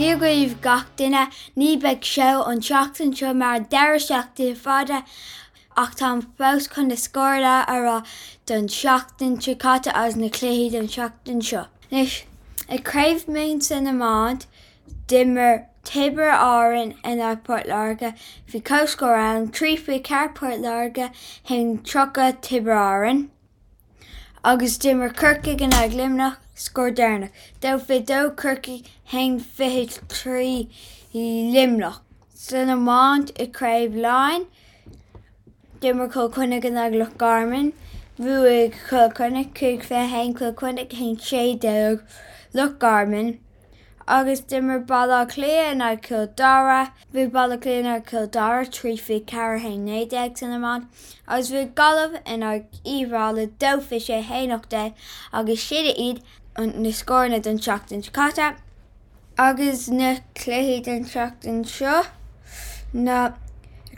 Dia dhaoibh gach duine, ní beidh seó an tseachtain seo mar an deireadh seachtaine fada ach táim fós chun na scóranna a rá don tseachtain seo caite agus na cluichí don tseachtain seo. Anois, i Craobh Mumhan san iomáint, d'imir Tiobraid Árann in aghaidh Port Láirge, bhí comhscór ann, 3 24 Port Láirge, 1 30 Tiobraid Árann. Agus d'imir Corcaigh in aghaidh Luimneach, scór deireanach, 2 22 Corcaigh, 1 23 Luimneach. San iomáint i Craobh Laighean, d'imir Cill Chainnigh in aghaidh Loch Garman. Bhuaigh Cill Chainnigh 5 21 Cill Chainnigh 1 16 Loch Garman. Agus d'imir Baile Átha Cliath in aghaidh Chill Dara. Bhuaigh Baile Átha Cliath in aghaidh Chill Dara 3 24 1 19 san iomáint agus bhuaigh Gaillimh in aghaidh Uíbh Fhailí 2 26 1 18 agus sin iad na scóranna don tseachtain seo caite. Agus na cluichí don tseachtain seo ná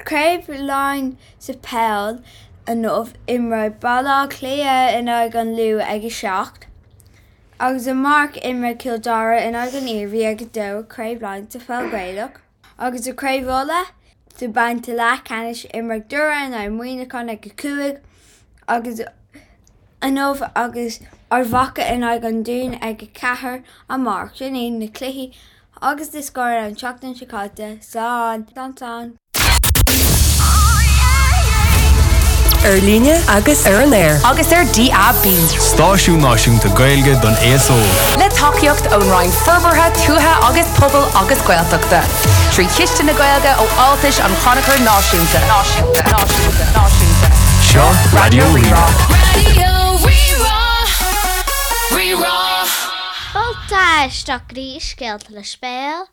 Craobh Laighean sa pheil inniu imreoidh Baile Átha Cliath in aghaidh an Lú ag 7. Agus amárach imreoidh Cill Dara in aghaidh an Iarmhí ag 2 i Craobh Laighean sa Pheil Ghaelach. Agus i Craobh Uladh sa babhta leathcheannais imreoidh Doire in aghaidh Muineachán ag 5 agus inniu agus Ard Mhacha in aghaidh an Dúin ag 4 amárach. Sin iad na cluichí agus na scóranna an tseachtain seo caite. Slán! Slán slán! Ar líne agus ar an aer. Agus ar DAB. Stáisiún náisiúnta Gaeilge don aos óg. Le tacaíocht ón Roinn Forbartha Tuaithe agus Pobail agus Gaeltachta. 3 Chiste na Gaeilge ó Fháltais an Chrannchuir Náisiúnta. Náisiúnta. Náisiúnta. Náisiúnta. Seo Raidió Rí-Rá. Raidió Rí-Rá. Rí-Rá. Fáilte isteach go dtí Scéalta le Sibéal.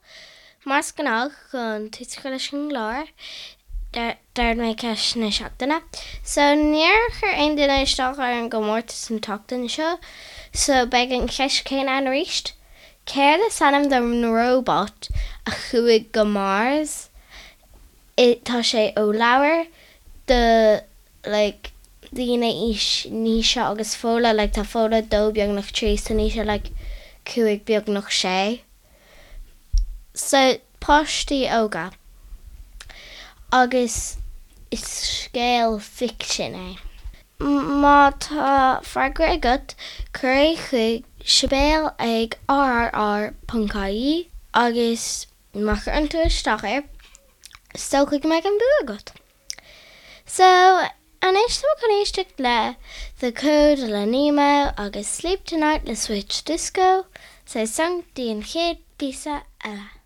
Mar is gnách chun tús a chur leis an gclár, d'ard mé ceist na seachtaine. So, níor chuir aon duine isteach ar an gcomórtas an tseachtain seo, so beidh an cheist chéanna ann arís. Céard is ainm don róbat a chuaigh go Mars? Tá sé ó leabhar do like daoine aois Naoise agus Fódhla, like tá Fódhla dó beagnach trí so Naoise like cúig beagnach sé. So, páistí óga. Agus is scéal ficsin é. Má tá freagra agat, cuir é chuig sibéal ag rrr ponc ie agus má chuireann tú isteach air, is dócha go mbeidh an bua agat. So, anois tá muid chun éisteacht le The Code le Nemo agus Sleep Tonight le Switch Disco, so slán go dtí an chéad phíosa eile.